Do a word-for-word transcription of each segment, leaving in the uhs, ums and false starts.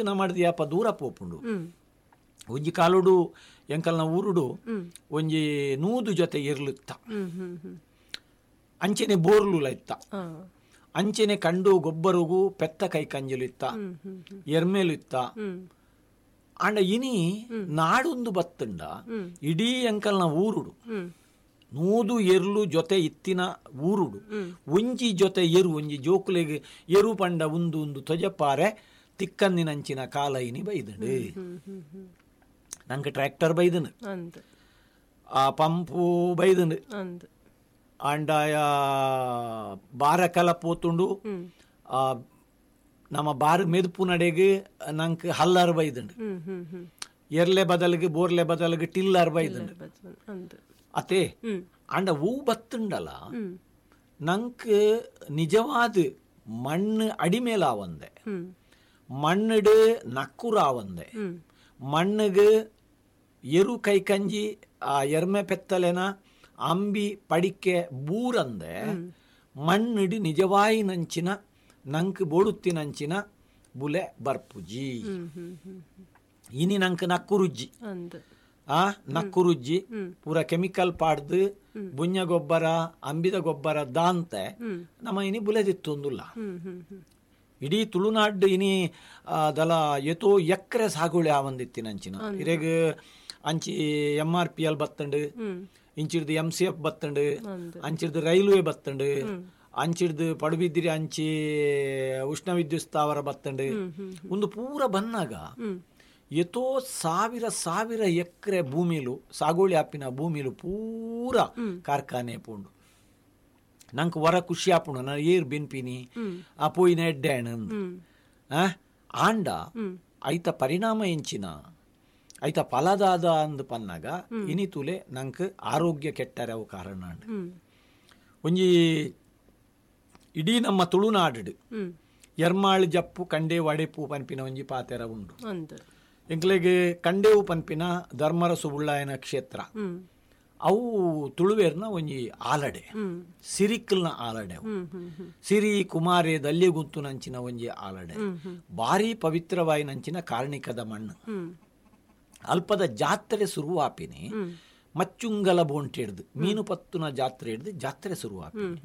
ನಮ್ಮಡ್ದು ಯಾಪ ದೂರ ಪೋಪುಂಡು. ಒಂಜಿ ಕಾಲುಡು ಎಂಕಲ್ನ ಊರುಡು ಒಂಜಿ ನೂದು ಜೊತೆ ಎರ್ಲುತ್ತ, ಅಂಚೆನೆ ಬೋರ್ಲುಲ ಇತ್ತ, ಅಂಚೆನೆ ಕಂಡು ಗೊಬ್ಬರಗು ಪೆತ್ತ ಕೈ ಕಂಜಲು ಇತ್ತ, ಎರ್ಮೇಲು ಇತ್ತ. ಆಂಡ ಇನಿ ನಾಡೊಂದು ಬತ್ತಂಡ ಇಡೀ ಎಂಕಲ್ನ ಊರುಡು ನೂದು ಎರ್ಲು ಜೊತೆ ಇತ್ತಿನ ಊರುಡು ಒಂಜಿ ಜೊತೆ ಎರು ಒಂಜಿ ಜೋಕುಲೆಗ್ ಎರು ಪಂಡ ಉಂದು ಉಂದು ತೊಜಪಾರೆ ತಿಕ್ಕಂದಿನಂಚಿನ ಕಾಲ ಇನಿ ಬೈದಂಡು. ನಂಗೆ ಟ್ರ್ಯಾಕ್ಟರ್ ಬೈದನು, ಆ ಪಂಪು ಬೈದಂಡು, ಆಂಡಾಯ ಬಾರ ಕಲ ಪೋತುಂಡು, ಆ ನಮ್ಮ ಬಾರ್ ಮೆದುಪು ನಡೆಗೆ ನಂಗೆ ಹಲ್ಲಾರು ಬೈದಂಡು, ಎರ್ಲೆ ಬದಲಿಗೆ ಬೋರ್ಲೆ ಬದಲಿಗೆ ಟಿಲ್ಲಾರು ಬೈದಂಡು ಅತೆ. ಆಂಡ ಹೂ ಬತ್ತುಂಡಲ ನಂಗೆ ನಿಜವಾದ ಮಣ್ಣು ಅಡಿಮೇಲಾವಂದೆ, ಮಣ್ಣಿಡು ನಕ್ಕುರಾವಂದೆ, ಮಣ್ಣಿಗೆ ಎರು ಕೈಕಂಜಿ ಆ ಎರ್ಮೆ ಪೆತ್ತಲೆನ ಅಂಬಿ ಪಡಿಕೆ ಬೂರಂದೆ ಮಣ್ಣಿಡು ನಿಜವಾಯಿ ನಂಚಿನ ನಂಕ್ ಬೋಡುತ್ತಿನಂಚಿನ ಬುಲೆ ಬರ್ಪುಜಿ. ಇನಿ ನಂಕ್ ನಕ್ಕುರುಜ್ಜಿ, ಆ ನಕ್ಕುರುಜ್ಜಿ ಪೂರ ಕೆಮಿಕಲ್ ಪಾಡ್ದು ಬುಂಜ ಗೊಬ್ಬರ ಅಂಬಿದ ಗೊಬ್ಬರ ದಾಂತೆ ನಮ್ಮ ಇನಿ ಬುಲೆದಿತ್ತೊಂದುಲ್ಲ. ಇಡೀ ತುಳುನಾಡು ಇನಿ ದಲ ಎತೋ ಎಕ್ಕರೆ ಸಾಗುಳಿ ಆವಂದಿತ್ತಿನಂಚಿನ ಇರೆಗ್ ಅಂಚಿ ಎಂ ಆರ್ ಪಿ ಎಲ್ ಬತ್ತಂಡು, ಇಂಚಿಡ್ದು ಎಂ ಸಿ ಎಫ್ ಬತ್ತಂಡು, ಅಂಚಿಡ್ದು ರೈಲ್ವೆ ಬತ್ತಂಡು, ಅಂಚಿಡ್ದು ಪಡುಬಿದ್ರಿ ಅಂಚಿ ಉಷ್ಣ ವಿದ್ಯುತ್ ಸ್ಥಾವರ ಬತ್ತಂಡು. ಒಂದು ಪೂರ ಬನ್ನಾಗ ಎತೋ ಸಾವಿರ ಸಾವಿರ ಎಕರೆ ಭೂಮಿಲು ಸಾಗುವಳಿ ಆಪಿನ ಭೂಮಿಲು ಪೂರ ಕಾರ್ಖಾನೆ ಪೋಂಡು. ನಂಗೆ ವರ ಖುಷಿ ಆಪುಂಡು, ನಾನು ಏರ್ ಬೆನ್ಪಿನಿ ಆ ಪೋಯಿನ ಎಡ್ಡೆ ಆಂಡ ಐತ ಪರಿಣಾಮ ಎಂಚಿನ ಐತ ಫಲದಾದ ಅಂದ್ ಪನ್ನಾಗ ಇನಿ ತುಲೆ ನಂಗೆ ಆರೋಗ್ಯ ಕೆಟ್ಟರೆ ಅವು ಕಾರಣ. ಒಂಜಿ ಇಡೀ ನಮ್ಮ ತುಳುನಾಡು ಎರ್ಮಾಳು ಜಪ್ಪು ಕಂಡೇವು ಅಡೆಪು ಪನ್ಪಿನ ಒಂಜಿ ಪಾತೆರ ಉಂಡು. ಎಂಕ್ಲೆಗ್ ಕಂಡೇವು ಪನ್ಪಿನ ಧರ್ಮರಸು ಉಳ್ಳಾಯನ ಕ್ಷೇತ್ರ ಅವು ತುಳುವೇರ್ನ ಒಂಜಿ ಆಲಡೆ, ಸಿರಿಕಲ್ನ ಆಲಡೆ, ಸಿರಿ ಕುಮಾರಿ ದಲ್ಯಗುಂತು ನಂಚಿನ ಒಂಜಿ ಆಲಡೆ, ಭಾರಿ ಪವಿತ್ರವಾಯಿನಂಚಿನ ಕಾರ್ಣಿಕದ ಮಣ್ಣು. ಅಲ್ಪದ ಜಾತ್ರೆ ಶುರುವಾಪಿನಿ ಮಚ್ಚುಂಗಲ ಬೋಂಟೆ ಹಿಡ್ದು ಮೀನು ಪತ್ತುನ ಜಾತ್ರೆ ಹಿಡ್ದು ಜಾತ್ರೆ ಶುರುವಾಪಿನಿ.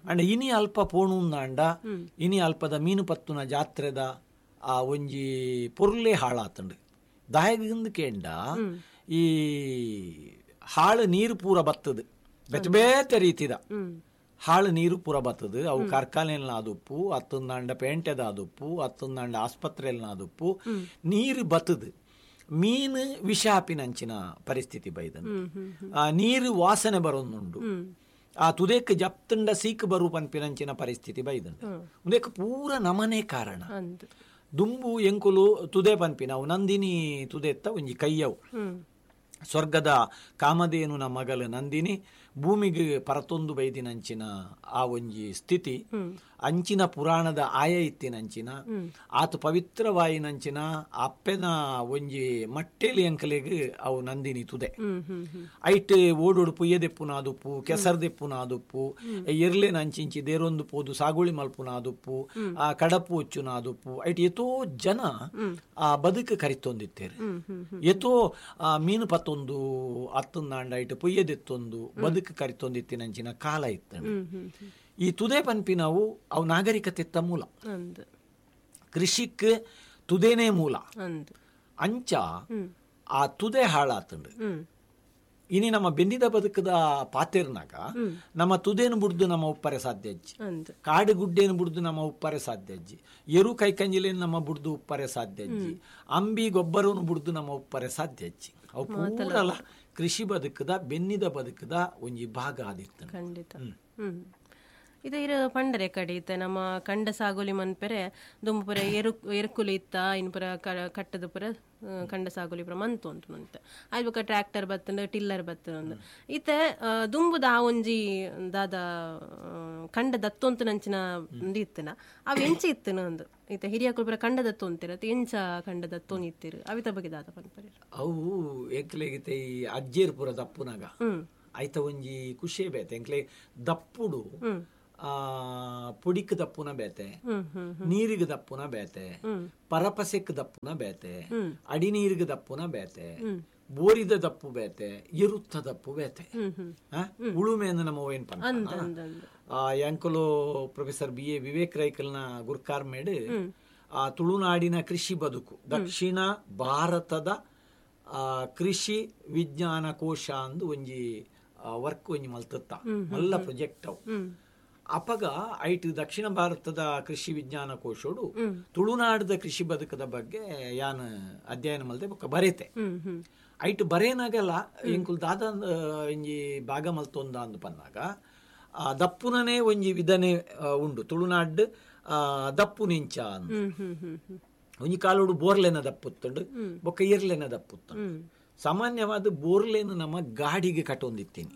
ಅಂಡ್ ಇನಿ ಅಲ್ಪ ಪೋಣುಂದಾಂಡ ಇನಿ ಅಲ್ಪದ ಮೀನು ಪತ್ತುನ ಜಾತ್ರೆದ ಆ ಒಂಜಿ ಪೊರ್ಲೆ ಹಾಳಾತಂಡು. ದಾಯಗಿಂದ ಕೇಂಡ ಈ ಹಾಳು ನೀರು ಪೂರ ಬತ್ತದು, ಬೇತೆ ಬೇತೆ ರೀತಿದ ಹಾಳು ನೀರು ಪೂರ ಬತ್ತದು. ಅವು ಕಾರ್ಖಾನೆಯಲ್ಲಿ ಆದುಪ್ಪು, ಹತ್ತೊಂದಾಂಡ ಪೇಂಟೆದ ಆದುಪ್ಪು, ಹತ್ತೊಂದಾಂಡ ಆಸ್ಪತ್ರೆಯಲ್ಲಿ ಆದುಪ್ಪು ನೀರು ಬತ್ತದು. ಮೀನು ವಿಷ ಆಪಿನಂಚಿನ ಪರಿಸ್ಥಿತಿ ಬೈದನು. ಆ ನೀರು ವಾಸನೆ ಬರೋದುಂಡು, ಆ ತುದೇಕ್ ಜಪ್ತಂಡ ಸೀಕ್ ಬರು ಪನ್ಪಿನಂಚಿನ ಪರಿಸ್ಥಿತಿ ಬೈದಂಡು. ಉಂದಕ್ಕೆ ಪೂರ ನಮನೆ ಕಾರಣ. ದುಂಬು ಎಂಕುಲು ತುದೆ ಪನ್ಪಿನವು ನಂದಿನಿ ತುದೆತ್ತ ಒಂಜಿ ಕೈಯವು, ಸ್ವರ್ಗದ ಕಾಮಧೇನು ಮಗಲು ನಂದಿನಿ ಭೂಮಿಗೆ ಪರತೊಂದು ಬೈದಿನಂಚಿನ ಆ ಒಂಜಿ ಸ್ಥಿತಿ, ಅಂಚಿನ ಪುರಾಣದ ಆಯ ಇತ್ತಿನಂಚಿನ ಆತ ಪವಿತ್ರವಾಯಿನಂಚಿನ ಅಪ್ಪೆನ ಒಂಜಿ ಮಟ್ಟೆಲಿ ಅಂಕಲೆಗ್ ಅವು ನಂದಿನಿ ತುದೆ. ಐಟ್ ಓಡೋಡು ಪುಯ್ಯದೆಪ್ಪುನ ಆದುಪ್ಪು, ಕೆಸರ್ದೆಪ್ಪುನ ಆದುಪ್ಪು, ಎರ್ಲೆನ ಅಂಚಿಂಚಿ ದೇರೊಂದು ಪೋದು ಸಾಗುಳಿ ಮಲ್ಪುನ ಆದುಪ್ಪು, ಆ ಕಡಪು ಒಚ್ಚುನ ಆದುಪ್ಪು. ಐಟ್ ಎತೋ ಜನ ಆ ಬದುಕು ಕರಿತೊಂದಿತ್ತೇರು, ಎತೋ ಆ ಮೀನು ಪತ್ತೊಂದು ಅತ್ತೊಂದಾಂಡ ಐಟ್ ಪುಯ್ಯದೆತ್ತೊಂದು ಬದುಕು ಕರಿತೊಂದಿತ್ತಿನಂಚಿನ ಕಾಲ ಇತ್ತು. ಈ ತುದೆ ಪನ್ಪಿನವು ಅವು ನಾಗರಿಕತೆತ್ತ ಮೂಲ, ಕೃಷಿಕ್ ತುದೇನೇ ಮೂಲ. ಅಂಚ ಆ ತುದೆ ಹಾಳಾತಂಡು. ಇನಿ ನಮ್ಮ ಬೆನ್ನಿದ ಬದುಕದ ಪಾತೆರ್ನಾಗ ನಮ್ಮ ತುದೇನು ಬುಡ್ದು ನಮ್ಮ ಉಪ್ಪರೆ ಸಾಧ್ಯ ಅಜ್ಜಿ, ಕಾಡು ಗುಡ್ಡೇನು ಬುಡ್ದು ನಮ್ಮ ಉಪ್ಪರೆ ಸಾಧ್ಯ ಅಜ್ಜಿ, ಎರು ಕೈಕಂಜಿಲೇನು ನಮ್ಮ ಬುಡ್ದು ಉಪ್ಪರೆ ಸಾಧ್ಯ ಅಜ್ಜಿ, ಅಂಬಿ ಗೊಬ್ಬರವನ್ನು ಬುಡ್ದು ನಮ್ಮ ಉಪ್ಪರೆ ಸಾಧ್ಯ ಅಜ್ಜಿ. ಅವು ಪೂರಲ ಕೃಷಿ ಬದುಕದ ಬೆನ್ನಿದ ಬದುಕದ ಒಂಜಿ ಭಾಗ ಆದಿತ್ತು. ಖಂಡಿತ. ಇದು ಇರು ಪಂಡರೆ ಕಡೆ ಇತ್ತ ನಮ್ಮ ಕಂಡ ಸಾಗೋಲಿ ಮನ್ಪೆರೆ ದುಂಬುಪುರ ಎರು ಎರುಕುಲು ಇತ್ತ ಇನ್ಪುರ ಕಟ್ಟದ ಪುರ ಕಂಡ ಸಾಗೋಲಿ ಪುರ ಮಂತು ಉಂಟು ಅಂತ ಆಯ್ತು. ಬೊಕ ಟ್ರ್ಯಾಕ್ಟರ್ ಬತ್ತಂಡು ಟಿಲ್ಲರ್ ಬತ್ತಂಡು ಇತ್ತೆ ದುಂಬುದ ಆ ಒಂಜಿ ದಾದ ಕಂಡ ದತ್ತೊಂತು ನಂಚಿನ ಇತ್ತನ ಅವು ಎಂಚ ಇತ್ತನ ಒಂದು ಇತ್ತೆ ಹಿರಿಯಕುಲು ಪುರ ಕಂಡ ದತ್ತೊಂತಿರ ಎಂಚ ಕಂಡ ದತ್ತೊಂದು ಇತ್ತಿರು ಅವಿತ ಬಗ್ಗೆ ದಾದ ಪನ್ಪರೆ. ಅವು ಎಂಕ್ಲೆಗಿತ್ತೆ ಈ ಅಜ್ಜೇರ್ ಪುರ ದಪ್ಪುನಾಗ ಆಯ್ತ ಒಂಜಿ ಖುಷಿ ಬೇತೆ ಎಂಕ್ಲೆ ದಪ್ಪುಡು. ಪುಡಿಕ್ ದಪ್ಪುನ ಬೇತೆ, ನೀರಿಗೆ ದಪ್ಪುನ ಬೇತೆ, ಪರಪಸೆಕ್ ದಪ್ಪುನ ಬೇತೆ, ಅಡಿ ನೀರಿಗೆ ದಪ್ಪುನ ಬೇತೆ, ಬೋರಿದ ದಪ್ಪು ಬೇತೆ, ಎರುತ್ತ ದಪ್ಪು ಬೇತೆ. ಉಳುಮೆ ಅಂದ್ರೆ ನಮ್ಮ ಏನ್ ಪಂಡ ಯಾಂಕುಲು ಪ್ರೊಫೆಸರ್ ಬಿ ಎ ವಿವೇಕ್ ರೈಕಲ್ನ ಗುರ್ಕಾರ್ ಮೇಡ್ ಆ ತುಳುನಾಡಿನ ಕೃಷಿ ಬದುಕು ದಕ್ಷಿಣ ಭಾರತದ ಕೃಷಿ ವಿಜ್ಞಾನ ಕೋಶ ಅಂದು ಒಂಜಿ ವರ್ಕ್ ಒಂಜಿ ಮಲ್ತತ್ತ ಮಲ್ಲ ಪ್ರೊಜೆಕ್ಟ್ ಅವು. ಅಪಗ ಐಟ್ ದಕ್ಷಿಣ ಭಾರತದ ಕೃಷಿ ವಿಜ್ಞಾನ ಕೋಶೋಡು ತುಳುನಾಡದ ಕೃಷಿ ಬದುಕದ ಬಗ್ಗೆ ಯಾನ್ ಅಧ್ಯಯನ ಮಲ್ತೆ ಬೊಕ್ಕ ಬರೇತೆ. ಐಟ್ ಬರೇನಾಗಲ್ಲ ಎಂಕುಲ್ ದಾದ ಒಂಜಿ ಭಾಗ ಮಲ್ತೊಂದ ಅಂದು ಪನ್ನಾಗ ಆ ದಪ್ಪುನನೇ ಒಂಜಿ ವಿಧನೆ ಉಂಡು ತುಳುನಾಡ್ ದಪ್ಪು ನಿಂಚ ಅಂದು. ಒಂಜಿ ಕಾಲೋಡು ಬೋರ್ಲೆನ ದಪ್ಪುತ್ತಂಡು ಬೊಕ್ಕ ಎರ್ಲೆನ ದಪ್ಪುತ್ತಂಡು. ಸಾಮಾನ್ಯವಾದ ಬೋರ್ಲೆನ ನಮ್ಮ ಗಾಡಿಗೆ ಕಟ್ಟೊಂದಿತ್ತೀನಿ,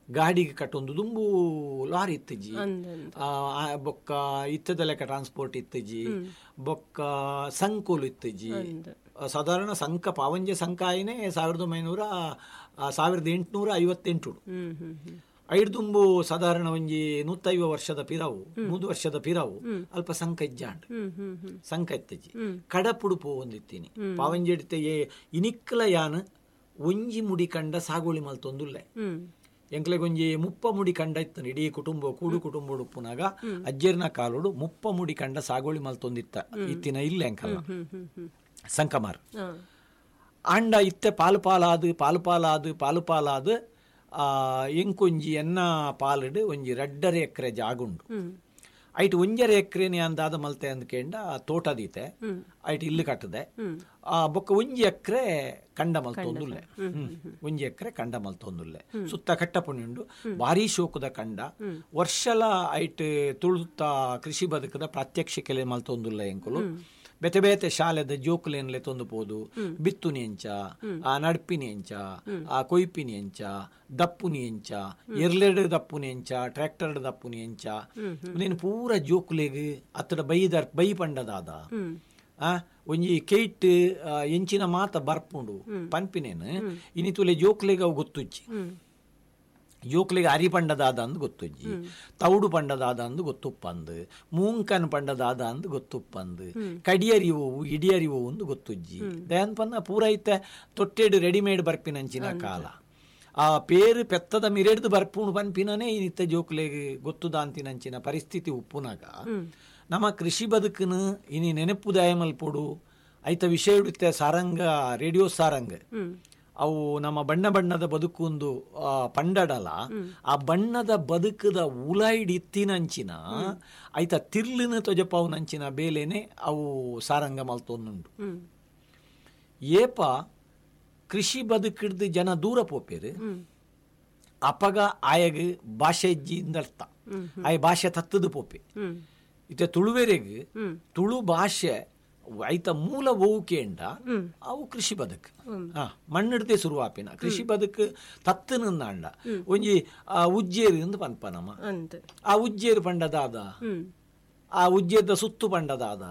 ಗಾಡಿಗೆ ಕಟ್ಟೊಂದು ದುಂಬು ಲಾರಿ ಇತ್ತಜಿ, ಬೊಕ್ಕ ಇತ್ತದ ಲೆಕ್ಕ ಟ್ರಾನ್ಸ್ಪೋರ್ಟ್ ಇತ್ತಜಿ, ಬೊಕ್ಕ ಸಂಕೋಲು ಇತ್ತಜಿ. ಸಾಧಾರಣ ಸಂಕ ಪಾವಂಜೆ ಸಂಕ ಆಯ್ನೆ ಸಾವಿರದ ಒಂಬೈನೂರ ಸಾವಿರದ ಎಂಟುನೂರ ಐವತ್ತೆಂಟು ಐಡ್ದುಂಬು ಸಾಧಾರಣ ಒಂಜಿ ನೂತೈವ ವರ್ಷದ ಪಿರಾವು ನೂದು ವರ್ಷದ ಪಿರಾವು ಅಲ್ಪ ಸಂಕ ಇಜ್ಜಾಂಡ್ ಸಂಕ ಇತ್ತಜಿ. ಕಡಪುಡು ಪೋವೊಂದಿತ್ತೀನಿ ಪಾವಂಜೆ ಇನಿಕ್ಕಲ ಯಾನ್ ಒಂಜಿ ಮುಡಿ ಕಂಡ ಸಾಗೋಳಿ ಮಲ್ತೊಂದುಲ್ಲೆ. ಎಂಕ್ಲೆಗೊಂಜಿ ಮುಪ್ಪ ಮುಡಿ ಕಂಡ ಇತ್ತು ಇಡೀ ಕುಟುಂಬ ಕೂಡು ಕುಟುಂಬ ಉಪ್ಪುನಾಗ ಅಜ್ಜರ್ನ ಕಾಲೋಡು ಮುಪ್ಪ ಮುಡಿ ಕಂಡ ಸಾಗೋಳಿ ಮಲ್ತೊಂದಿತ್ತ ಇತ್ತಿನ ಇಲ್ಲ ಎಂಕಲ್ಲ ಸಂಕಮಾರ್ ಆಂಡ ಇತ್ತೆ ಪಾಲು ಪಾಲಾದು ಪಾಲು ಪಾಲಾದು ಪಾಲು ಪಾಲಾದು ಎಂಕೊಂಜಿ ಎನ್ನ ಪಾಲುಡು ಒಂಜಿ ರಡ್ಡರೆ ಎಕರೆ ಜಾಗುಂಡು. ಐಟ್ ಒಂಜರೆ ಎಕರೆನೆ ಅಂದಾದ ಮಲ್ತೆ ಅಂದ್ಕೇಂಡ ತೋಟ ದೀತೆ ಐಟ್ ಇಲ್ಲು ಕಟ್ಟದೆ ಆ ಬೊಕ್ಕ ಒಂಜಿ ಎಕರೆ ಕಂಡ ಮಲ್ತೊಂದುಲ್ಲೆ, ಒಂಜಿ ಎಕರೆ ಕಂಡ ಮಲ್ತೊಂದುಲ್ಲೆ. ಸುತ್ತ ಕಟ್ಟಪುಣಿ ಉಂಡು, ಭಾರೀ ಶೋಕದ ಕಂಡ. ವರ್ಷಲ ಐಟ್ ತುಳುತ್ತ ಕೃಷಿ ಬದುಕದ ಪ್ರಾತ್ಯಕ್ಷಿಕೆಲೆ ಮಲ್ತೊಂದುಲ್ಲೆ ಎಂಕುಲು. ಬೇತೆ ಬೇತೆ ಶಾಲೆದ ಜೋಕುಲೇನ್ಲೆ ತೊಂದು ಪೋದು ಬಿತ್ತುನಿ ಎಂಚ, ಆ ನಡ್ಪಿನಿ ಎಂಚ, ಆ ಕೊಯ್ಪಿನಿ ಎಂಚ, ದಪ್ಪುನಿ ಎಂಚ, ಎರ್ಲೆಡ್ ದಪ್ಪುನಿ ಎಂಚ, ಟ್ರ್ಯಾಕ್ಟರ್ ದಪ್ಪುನಿ ಎಂಚ, ನೀನು ಪೂರ ಜೋಕುಲೆಗ್ ಅತ್ತಡ ಬೈದರ್ ಬೈ ಪಂಡದಾದ ಆ ಒಂಜಿ ಕೇಟ್ ಎಂಚಿನ ಮಾತ ಬರ್ಪುಂಡು ಪನ್ಪಿನೇನು ಇನಿ ತುಲೆ ಜೋಕುಲೆಗ್ ಅವು ಗೊತ್ತುಜ್ಜಿ. ಜೋಕ್ಲಿಗೆ ಅರಿ ಪಂಡದಾದ ಅಂದು ಗೊತ್ತುಜ್ಜಿ, ತೌಡು ಪಂಡದಾದ ಅಂದು ಗೊತ್ತುಪ್ಪಂದು, ಮೂಂಕನ್ ಪಂಡದಾದ ಅಂದು ಗೊತ್ತುಪ್ಪಂದು, ಕಡಿಯರಿವು ಇಡಿಯರಿವು ಒಂದು ಗೊತ್ತುಜ್ಜಿ. ದಯಾನ್ ಪನ್ನ ಪೂರೈತ ತೊಟ್ಟೆಡು ರೆಡಿಮೇಡ್ ಬರ್ಪಿನಂಚಿನ ಕಾಲ. ಆ ಪೇರು ಪೆತ್ತದ ಮಿರೆಡ್ದು ಬರ್ಪುಣು ಪನ್ಪಿನೇ ಇನಿತ್ತ ಜೋಕ್ಲೆಗ್ ಗೊತ್ತುದಾಂತಿನಂಚಿನ ಪರಿಸ್ಥಿತಿ ಉಪ್ಪುನಾಗ ನಮ್ಮ ಕೃಷಿ ಬದುಕನು ಇನಿ ನೆನಪು ದಯಮಲ್ಪೊಡು ಐತ ವಿಷಯ ಸಾರಂಗ ರೇಡಿಯೋ ಸಾರಂಗ ಅವು ನಮ್ಮ ಬಣ್ಣ ಬಣ್ಣದ ಬದುಕು ಒಂದು ಪಂಡಡಲ. ಆ ಬಣ್ಣದ ಬದುಕದ ಉಲಾಯ್ಡ್ ಇತ್ತಿನಂಚಿನ ಐತ ತಿರ್ಲಿನ ತೊಜಪಾವುನಂಚಿನ ಬೇಲೆನೆ ಅವು ಸಾರಂಗ ಮಲ್ತೊಂದುಂಡು. ಏಪ ಕೃಷಿ ಬದುಕಿಡ್ದು ಜನ ದೂರ ಪೋಪೇರು ಅಪಗ ಆಯಗ್ ಭಾಷೆ ಅರ್ಥ ಆಯ ಭಾಷೆ ತತ್ತದು ಪೋಪೆ. ಇತ್ತೆ ತುಳುವೆರೆಗ್ ತುಳು ಭಾಷೆ ಐತ ಮೂಲ ಓವುಕೇಂಡ ಅವು ಕೃಷಿ ಬದುಕು ಹಾ ಮಣ್ಣಿಡ್ದೆ ಶುರುವಾಪಿನ ಕೃಷಿ ಬದುಕು ತತ್ತನಂದಾಂಡ ಒಂಜಿ ಉಜ್ಜೇರು ಎಂದು ಪನ್ಪ ನಮ್ಮ ಆ ಉಜ್ಜೇರು ಪಂಡದಾದ, ಆ ಉಜ್ಜೇರ್ದ ಸುತ್ತು ಪಂಡದಾದ,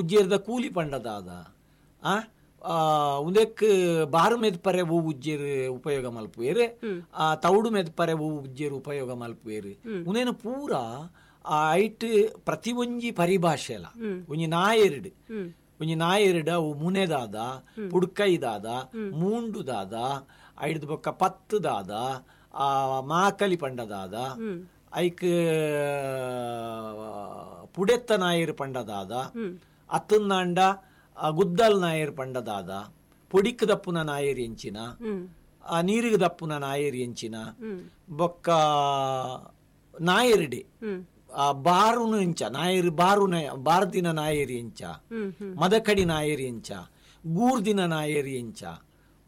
ಉಜ್ಜೇರ್ದ ಕೂಲಿ ಪಂಡದಾದ, ಆ ಉಂದೆಕ್ ಬಾರು ಮೆದ್ಪರೆ ಹೂ ಉಜ್ಜೇರು ಉಪಯೋಗ ಮಲ್ಪುವೇರು, ಆ ತೌಡು ಮೆದ್ಪರೆ ಹೂ ಉಜ್ಜೇರು ಉಪಯೋಗ ಮಲ್ಪುವೇರು. ಉಂದೇನು ಪೂರ ಆ ಐಟ್ ಪ್ರತಿ ಒಂಜಿ ಪರಿಭಾಷೆಲ ಒಂಜಿ ನಾಯೆರಡು ಒಂಜಿ ನಾಯೆರಡು ಅವು ಮುನೆದಾದ, ಪುಡ್ಕೈದಾದ, ಮೂಂಡುದಾದ, ಐಡ್ದು ಬೊಕ್ಕ ಪತ್ತುದಾದ, ಆ ಮಾಕಲಿ ಪಂಡದಾದ, ಐಕ್ ಪುಡೆತ್ತ ನಾಯರು ಪಂಡದಾದ, ಅತ್ತಂದಾಂಡ ಗುದ್ದಲ್ ನಾಯರ್ ಪಂಡದಾದ, ಪೊಡಿಕ್ ದಪ್ಪುನ ನಾಯರ್ ಎಂಚಿನ, ಆ ನೀರಿಗೆ ದಪ್ಪುನ ನಾಯರ್ ಎಂಚಿನ, ಬೊಕ್ಕ ನಾಯರ್ಡೆ ಆ ಬಾರುನು ಎಂಚ ನಾಯರು ಬಾರು ಬಾರ್ದಿನ ನಾಯರಿ ಎಂಚ, ಮದಕಡಿ ನಾಯರಿ ಎಂಚ, ಗೂರ್ದಿನ ನಾಯರಿ ಎಂಚ,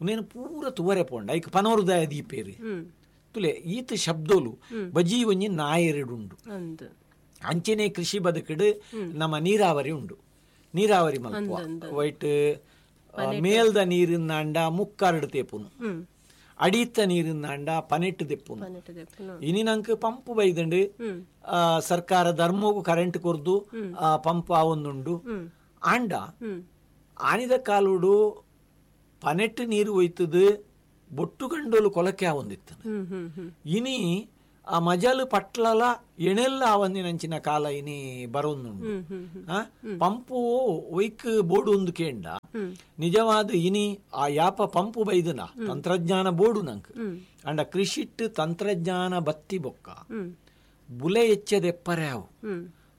ಉನೇನು ಪೂರ ತುವರೆ ಪೋಂಡ ಐಕ್ ಪನೋರುದಾಯ ದೀಪೇರಿ ತುಲೆ ಈತ ಶಬ್ದೋಲು ಬಜಿ ಒಂಜಿ ನಾಯರೆಡುಂಡು. ಅಂಚೆನೆ ಕೃಷಿ ಬದುಕಡು ನಮ್ಮ ನೀರಾವರಿ ಉಂಡು. ನೀರಾವರಿ ಮಲ್ಪುವ ವೈಟ್ ಮೇಲ್ದ ನೀರಿನಾಂಡ ಮುಕ್ಕಾರಡು ತೇಪುನು, ಅಡಿತ ನೀರಿನಾಂಡ ಪನೆಟ್ಟು ದೆಪ್ಪುನು. ಇನಿ ನಂಗೆ ಪಂಪ್ ಬೈದಂಡು ಸರ್ಕಾರ ಧರ್ಮಗೂ ಕರೆಂಟ್ ಕೊರ್ದು ಪಂಪ್ ಆವೊಂದುಂಡು. ಆಂಡ ಆನಿದ ಕಾಲುಡು ಪನೆಟ್ಟು ನೀರು ಒಯ್ತದು ಬೊಟ್ಟು ಗಂಡೋಲು ಕೊಲಕೆ ಆವೊಂದಿತ್ತು. ಇನಿ ಆ ಮಜಲು ಪಟ್ಲಲ ಎಣೆಲ್ಲ ಆವಂದಿನಂಚಿನ ಕಾಲ ಇನಿ ಬರೋಂದುಂಡು. ಪಂಪು ಒಯ್ಕ್ ಬೋಡು ಒಂದು ಕೇಂಡ ನಿಜವಾದ ಇನಿ ಆ ಯಾಪ ಪಂಪು ಬೈದನ ತಂತ್ರಜ್ಞಾನ ಬೋಡು ನಂಕ್ ಅಂಡ ಕೃಷಿಟ್ ತಂತ್ರಜ್ಞಾನ ಬತ್ತಿ ಬೊಕ್ಕ ಬುಲೆ ಎಚ್ಚದೆಪ್ಪರೆ ಅವು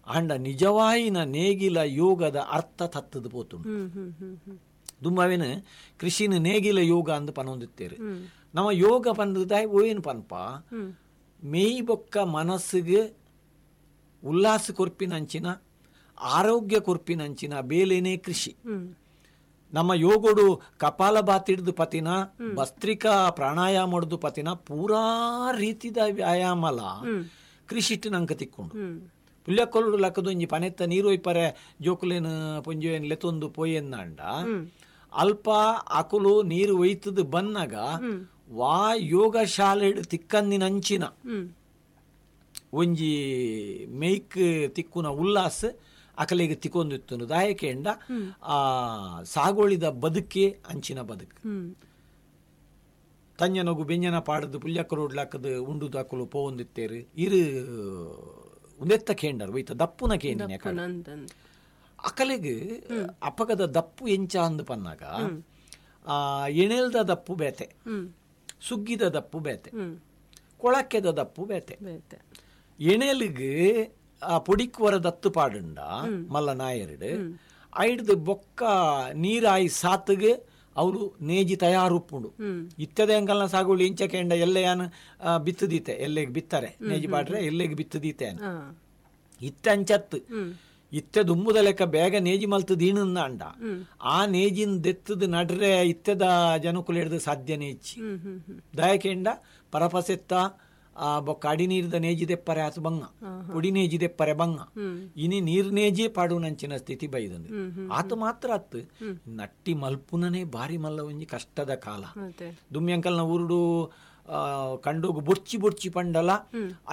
ಅಂಡ ನಿಜವಾಯಿನ ನೇಗಿಲ ಯೋಗದ ಅರ್ಥ ತತ್ತದ ಪೋತುಂಡು. ದುಮ್ಮವೇನು ಕೃಷಿನ ನೇಗಿಲ ಯೋಗ ಅಂದ್ ಪನೊಂದಿತ್ತೇರು. ನಮ್ಮ ಯೋಗ ಪಂದದಾಯ್ ಓಯೇನು ಪನ್ಪ ಮೇಯ್ ಬೊಕ್ಕ ಮನಸ್ಸಿಗೆ ಉಲ್ಲಾಸ ಕೊರ್ಪಿನಂಚಿನ ಆರೋಗ್ಯ ಕೊರ್ಪಿನಂಚಿನ ಬೇಲೆನೇ ಕೃಷಿ. ನಮ್ಮ ಯೋಗೋಡು ಕಪಾಲಭಾತಿಡ್ದು ಪತಿನ ಭಸ್ತ್ರಿಕಾ ಪ್ರಾಣಾಯಾಮಡ್ದು ಪತಿನ ಪೂರಾ ರೀತಿದ ವ್ಯಾಯಾಮಲ ಕೃಷಿಟ್ಟು ನಂಕ ತಿಕ್ಕೊಂಡು. ಪುಲ್ಯಕೊಲ್ಡು ಲಕ್ಕದೊಂಜಿ ಪನೆತ್ತ ನೀರು ಒಯ್ಪರೆ ಜೋಕುಲೇನು ಪೊಂಜೋಯನ್ ಲೆತ್ತೊಂದು ಪೋಯೆನ್ನಾಂಡ ಅಲ್ಪ ಅಕುಲು ನೀರು ಒಯ್ತದ ಬನ್ನಾಗ ವಾ ಯೋಗ ಶಾಲೆಡ್ ತಿಕ್ಕಂದಿನಂಚಿನ ಒಂಜಿ ಮೇಯ್ಕ್ ತಿಕ್ಕುನ ಉಲ್ಲಾಸ ಅಕಲೆಗೆ ತಿಕ್ಕೊಂದಿತ್ತು. ದಾಯಕೆಂಡ ಆ ಸಾಗೋಳಿದ ಬದುಕೆ ಅಂಚಿನ ಬದುಕು. ತಂಜನಗು ಬೆಂಜನ ಪಾಡದು ಪುಲ್ಯಕರೋಡ್ಲಾಕದು ಉಂಡುದು ಅಕುಲು ಪೋವೊಂದಿತ್ತೇರು ಇರು ಉಂದೆತ್ತ ಕೇಂಡರು ಒಯ್ತ ದಪ್ಪುನ ಕೇಂಡಿನ ಅಕಲೆಗ್ ಅಪಗದ ದಪ್ಪು ಎಂಚ ಅಂದು ಪನ್ನಾಗ ಆ ಎಣೆಲ್ದ ದಪ್ಪು ಬೇತೆ, ಸುಗ್ಗಿದ ದಪ್ಪು ಬೇತೆ, ಕೊಳಕ್ಕೆದ ದಪ್ಪು ಬೇತೆ. ಎಣೆಲಿಗ್ ಆ ಪೊಡಿಕ್ವರ ದತ್ತು ಪಾಡುಂಡ ಮಲ್ಲ ನಾಯರ್ಡು ಐಡ್ದು ಬೊಕ್ಕ ನೀರಾಯಿ ಸಾತ್ಗೆ ಅವರು ನೇಜಿ ತಯಾರುಪ್ಪುಂಡು. ಇತ್ತದ ಎಂಕಲ್ನ ಸಾಗುಳಿ ಇಂಚ ಕೇಂಡ ಎಲ್ಲೆಯಾನು ಬಿತ್ತದೀತೆ ಎಲ್ಲೆಗೆ ಬಿತ್ತಾರೆ ನೇಜಿ ಪಾಡ್ರೆ ಎಲ್ಲೆಗೆ ಬಿತ್ತದೀತೆ ಇತ್ತ ಅಂಚತ್ತು ಇತ್ತೆ ದುಂಬುದ ಲೆಕ್ಕ ಬೇಗ ನೇಜಿ ಮಲ್ತದ ಅಂಡ ಆ ನೇಜಿನ ದೆತ್ತದ ನಡ್ರೆ ಇತ್ತದ ಜನಕುಲು ಹಿಡ್ದು ಸಾಧ್ಯನೇ ಇಚ್ಚಿ. ದಯಕೆಂಡ ಪರಪಸೆತ್ತ ಆ ಬೊಕ್ಕ ಅಡಿ ನೀರ್ದ ನೇಜಿ ದೆಪ್ಪರೆ ಆತು ಬಂಗ ಪುಡಿ ನೇಜಿ ದೆಪ್ಪರೆ ಬಂಗ ಇನಿ ನೀರ್ ನೇಜಿ ಪಾಡುನಂಚಿನ ಸ್ಥಿತಿ ಬೈದಂದು. ಆತ ಮಾತ್ರ ಅತ್ತು ನಟ್ಟಿ ಮಲ್ಪುನನೇ ಬಾರಿ ಮಲ್ಲ ಒಂಜಿ ಕಷ್ಟದ ಕಾಲ. ದುಮ್ಯಂಕಲ್ನ ಊರುಡು ಕಂಡೋಗು ಬೊರ್ಚಿ ಬೊರ್ಚಿ ಪಂಡಲ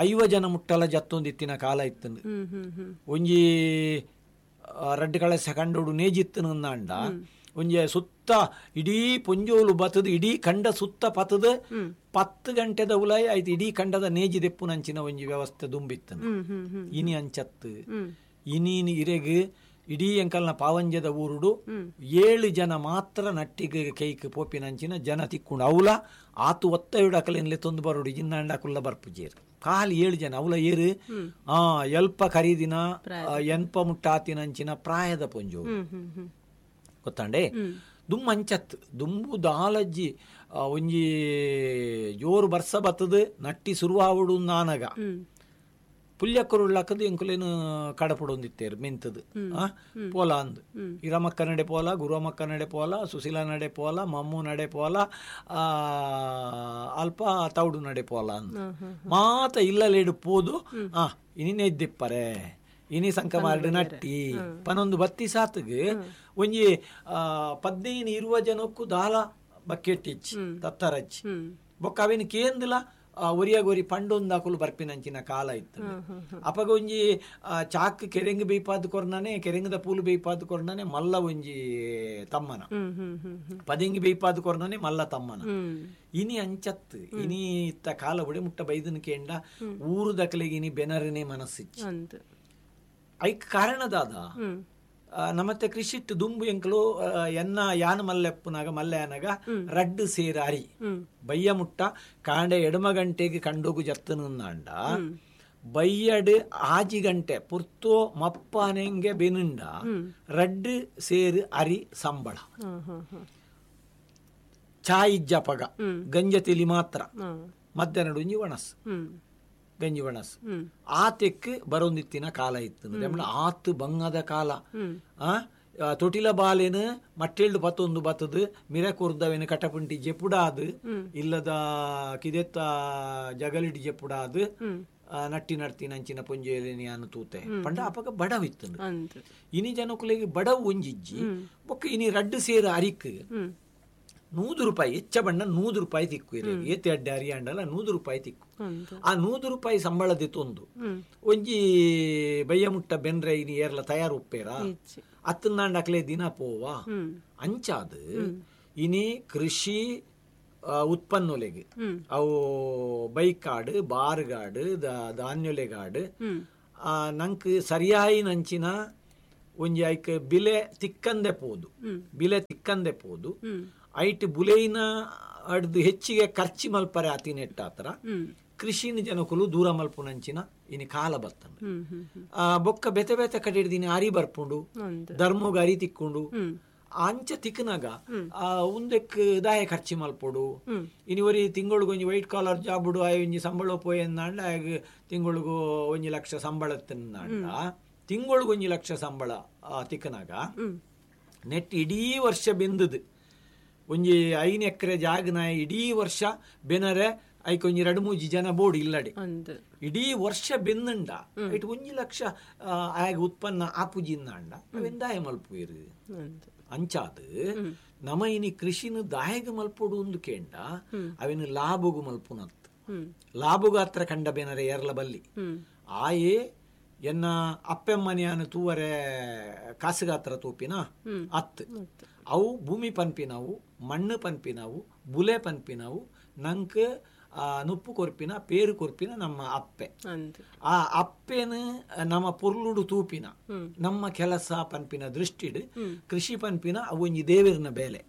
ಐವ ಜನ ಮುಟ್ಟಲ ಜತ್ತೊಂದಿತ್ತಿನ ಕಾಲ ಇತ್ತಂದು. ಒಂಜಿ ರಡ್ಡು ಕಳಸೆ ಕಂಡೋಡು ನೇಜಿತ್ತನ ಅಂಡ ಒಂಜಿ ಸುತ್ತ ಇಡೀ ಪೊಂಜೋಲು ಬತ್ತದು ಇಡೀ ಕಂಡ ಸುತ್ತ ಪತ್ತದ ಪತ್ತು ಗಂಟೆದ ಉಲಾಯಿ ಆಯ್ತು ಇಡೀ ಕಂಡದ ನೇಜಿ ದೆಪ್ಪುನಂಚಿನ ಒಂಜಿ ವ್ಯವಸ್ಥೆ ದುಂಬಿತ್ತನು. ಇನಿ ಅಂಚತ್ತು ಇನಿ ಇರೆಗ್ ಇಡೀ ಎಂಕಲ್ನ ಪಾವಂಜದ ಊರುಡು ಏಳು ಜನ ಮಾತ್ರ ನಟ್ಟಿಗೆ ಕೈಕ್ ಪೋಪಿನಂಚಿನ ಜನ ತಿಕ್ಕೊಂಡು ಅವಲ ಆತು ಒತ್ತ ಅಕಲೆನ್ಲೆ ತೊಂದು ಬರೋಡು ಜಿನ್ನಾಂಡ ಅಕುಲ್ಲ ಬರ್ಪುಜೇರು ಕಾಲಿ ಏಳು ಜನ ಅವಲ ಏರು ಆ ಎಲ್ಪ ಖರೀದಿನ ಎನ್ಪ ಮುಟ್ಟಾತಿನಂಚಿನ ಪ್ರಾಯದ ಪೊಂಜೋ ಗೊತ್ತಾಂಡೆ. ದುಮ್ಮ ಅಂಚತ್ ದುಂಬು ದಾಲಜ್ಜಿ ಒಂಜಿ ಜೋರು ಬರ್ಸ ಬತ್ತದ ನಟ್ಟಿ ಸುರುವಾವಡು ನಾನಗ ಪುಲ್ಯಕ್ಕರುಳ್ಳಾಕದು ಎಂಕುಲೇನು ಕಡಪಡೊಂದಿತ್ತೇರು ಮೆಂತದು ಆ ಪೋಲ ಅಂದು ಇರಮಕ್ಕ ನಡೆ ಪೋಲ, ಗುರುಮಕ್ಕ ನಡೆ ಪೋಲ, ಸುಶೀಲ ನಡೆ ಪೋಲ, ಮಮ್ಮು ನಡೆ ಪೋಲ, ಅಲ್ಪ ತೌಡು ನಡೆ ಪೋಲ ಅಂದು ಮಾತ ಇಲ್ಲಲೇಡು ಪೋದು ಆ ಇನಿ ನೆದ್ದಿಪ್ಪರೆ ಇನಿ ಸಂಕಮಾರ್ಡು ನಟ್ಟಿ ಪನೊಂದು ಬತ್ತಿ ಸಾತ್ಗ್ ಒಂಜಿ ಪದ್ನೈನು ಇರುವ ಜನಕ್ಕೂ ದಾಲ ಬಕೆಟ್ ಇಚ್ಚಿ ತತ್ತರಚ್ಚಿ ಬೊಕ್ಕ ಅವೇನು ಕೇಂದ್ಲ ಒರಿಯಾಗ ಒರಿ ಪಂಡೊಂದು ಬರ್ಪಿನಂಚಿನ ಕಾಲ ಇತ್ತು. ಅಪಗ ಒಂಜಿ ಚಾಕ್ ಕೆರೆಂಗ್ ಬೇಯ್ಪಾದ ಕೊರ್ನಾನೆ ಕೆರೆಂಗದ ಪೂಲು ಬೇಯ್ಪಾದ ಕೊರ್ನಾನೆ ಮಲ್ಲ ಒಂಜಿ ತಮ್ಮನ ಪದಿಂಗಿ ಬೇಯ್ಪಾದ ಕೊರ್ನಾನೆ ಮಲ್ಲ ತಮ್ಮನ. ಇನಿ ಅಂಚತ್ತು ಇನಿ ಇತ್ತ ಕಾಲ ಒಡೆ ಮುಟ್ಟ ಬೈದನ ಕೇಂಡ ಊರು ದಕಲೆಗೆ ಇನಿ ಬೆನರನೇ ಮನಸ್ಸಿಚ್ಚಿ ಐಕ್ ಕಾರಣದಾದ ನಮ್ಮತ್ತೆ ಕೃಷಿಟ್ಟು ದುಂಬು ಎಂಕಲು ಎನ್ನ ಯಾನ ಮಲ್ಲೆಪ್ಪುನಾಗ ಮಲ್ಲೆಯನಾಗ ರಡ್ಡು ಸೇರ ಅರಿ ಬಯ್ಯ ಮುಟ್ಟ ಕಾಂಡೆ ಎಡಮ ಗಂಟೆಗೆ ಕಂಡೋಗು ಜತ್ತನಂಡ ಬಯ್ಯಡು ಆಜಿ ಗಂಟೆ ಪುರ್ತೋ ಮಪ್ಪನೆಂಗೆ ಬೆನುಂಡ ರಡ್ಡು ಸೇರು ಅರಿ ಸಂಬಳ ಚಾಯ್ ಇಜ್ಜಪಗ ಗಂಜ ತಿಲಿ ಮಾತ್ರ ಮಧ್ಯಾಹ್ನ ಒಂಜಿ ಒಣಸು ಗಂಜಿ ಒಣಸು ಆ ತೆಕ್ ಬರೋಂದಿತ್ತಿನ ಕಾಲ ಇತ್ತು. ಆತು ಬಂಗದ ಕಾಲ. ಆ ತೊಟಿಲ ಬಾಲೇನು ಮಟ್ಟೆಳ್ಳು ಪತ್ತೊಂದು ಬತ್ತದು ಮಿರ ಕೊರ್ದವೇನು ಕಟಪುಂಟಿ ಜೆಪುಡಾದು ಇಲ್ಲದ ಕಿದೆತ್ತ ಜಗಲಿಡಿ ಜೆಪುಡಾದು ನಟ್ಟಿ ನಡ್ತಿ ನಂಚಿನ ಪೊಂಜೆಯಲ್ಲಿ ತೂತೆ ಪಂಡ ಅಪಗ ಬಡವಿತ್ತು. ಇನಿ ಜನಕುಲೆಗೆ ಬಡವು ಒಂಜಿಜ್ಜಿ ಬೊಕ್ಕ ಇನಿ ರಡ್ಡು ಸೇರು ಅರಿಕ್ ನೂದು ರೂಪಾಯಿ ಹೆಚ್ಚ ಬಣ್ಣ ನೂದು ರೂಪಾಯಿ ತಿಕ್ಕು ಇರಲಿ ಏತೆ ಅಡ್ಡೆ ಅರಿ ಅಂಡಲ ನೂದು ರೂಪಾಯಿ ತಿಕ್ಕು. ಆ ನೂದು ರೂಪಾಯಿ ಸಂಬಳದ ತೊಂದು ಒಂಜಿ ಬಯ್ಯ ಮುಟ್ಟ ಬೆನ್ರೆ ಇನಿ ಏರ್ಲ ತಯಾರು ಉಪ್ಪೇರ ಅತ್ತನಾಂಡಕ್ಲೆ ದಿನ ಪೋವಾ ಅಂಚಾದ ಇನಿ ಕೃಷಿ ಉತ್ಪನ್ನೊಲೆಗೆ ಅವು ಬೈಕಾಡು ಬಾರ್ಗಾಡು ಧಾನ್ಯೊಲೆಗಾಡು ನಂಕ್ ಸರಿಯಾಯಿ ನಂಚಿನ ಒಂಜಿ ಐಕ್ ಬಿಲೆ ತಿಕ್ಕಂದೆ ಪೋದು ಬಿಲೆ ತಿಕ್ಕಂದೆ ಪೋದು ಐಟ್ ಬುಲೆಯಿನ ಅಡ್ದು ಹೆಚ್ಚಿಗೆ ಖರ್ಚಿ ಮಲ್ಪರೆ ಆತಿನೆಟ್ಟಾತ್ರ ಕೃಷಿನ ಜನಕುಲು ದೂರ ಮಲ್ಪುನಂಚಿನ ಇನಿ ಕಾಲ ಬತ್ತಂಡು. ಆ ಬೊಕ್ಕ ಬೆತೆ ಬೆತೆ ಕಡೆ ಹಿಡ್ದಿನಿ ಅರಿ ಬರ್ಪುಂಡು, ಧರ್ಮಗ್ ಅರಿ ತಿಕ್ಕೊಂಡು ಅಂಚ ತಿಕ್ಕನಾಗ ಆ ಉಂದೆಕ್ ದಾಯ ಖರ್ಚಿ ಮಲ್ಪೊಡು. ಇನಿ ಒರಿ ತಿಂಗಳಿಗೆ ಒಂಜಿ ವೈಟ್ ಕಾಲರ್ ಜಾಬುಡು ಆಯ್ ಒಂಜಿ ಸಂಬಳ ಪೋಯಂದಾಂಡ ಆಯಗ್ ತಿಂಗಳಿಗೂ ಒಂಜಿ ಲಕ್ಷ ಸಂಬಳ ತಿಂದಾಂಡ ತಿಂಗಳಿಗೆ ಒಂಜಿ ಲಕ್ಷ ಸಂಬಳ ತಿಕ್ಕನಾಗ ನೆಟ್ ಇಡೀ ವರ್ಷ ಬೆಂದದು ಒಂಜಿ ಐನು ಎಕರೆ ಜಾಗನ ಇಡೀ ವರ್ಷ ಬೆನರೆ ಐಕ್ ಒಂಜಿ ರಡು ಮೂಜಿ ಜನ ಬೋರ್ಡ್ ಇಲ್ಲಡೆ ಇಡೀ ವರ್ಷ ಬೆಂದಂಡ ಐಟ್ ಒಂಜಿ ಲಕ್ಷ ಆಯಗ್ ಉತ್ಪನ್ನ ಆಪುಜಿಂದಾಂಡ ಅವೆಂದಾಯ ಮಲ್ಪುಯಿರು. ಅಂಚಾದ ನಮ ಇನಿ ಕೃಷಿನ ದಾಯಗ ಮಲ್ಪೊಡು ಒಂದು ಕೇಂಡ ಅವಿನ ಲಾಭಗು ಮಲ್ಪುನತ್ ಲಾಭಗು ಹತ್ರ ಕಂಡ ಬೇನರೆ ಎರಲ ಬಲ್ಲಿ ಆಯೇ ಎನ್ನ ಅಪ್ಪೆಮ್ಮನಿಯಾನ ತೂವರೆ ಕಾಸುಗಾತ್ರ ತೂಪಿನ ಅತ್ ಅವು ಭೂಮಿ ಪನ್ಪಿನವು ಮಣ್ಣು ಪನ್ಪಿನವು ಬುಲೆ ಪನ್ಪಿನವು ನಂಕ್ ನುಪ್ಪು ಕೊರ್ಪಿನ ಪೇರು ಕೊರ್ಪಿನ ನಮ್ಮ ಅಪ್ಪೆ. ಆ ಅಪ್ಪೆನ ನಮ್ಮ ಪೊರ್ಲುಡು ತೂಪಿನ ನಮ್ಮ ಕೆಲಸ ಪನ್ಪಿನ ದೃಷ್ಟಿಡು ಕೃಷಿ ಪನ್ಪಿನ ಅವು ಒಂಜಿ ದೇವರನ ಬೇಲೆ.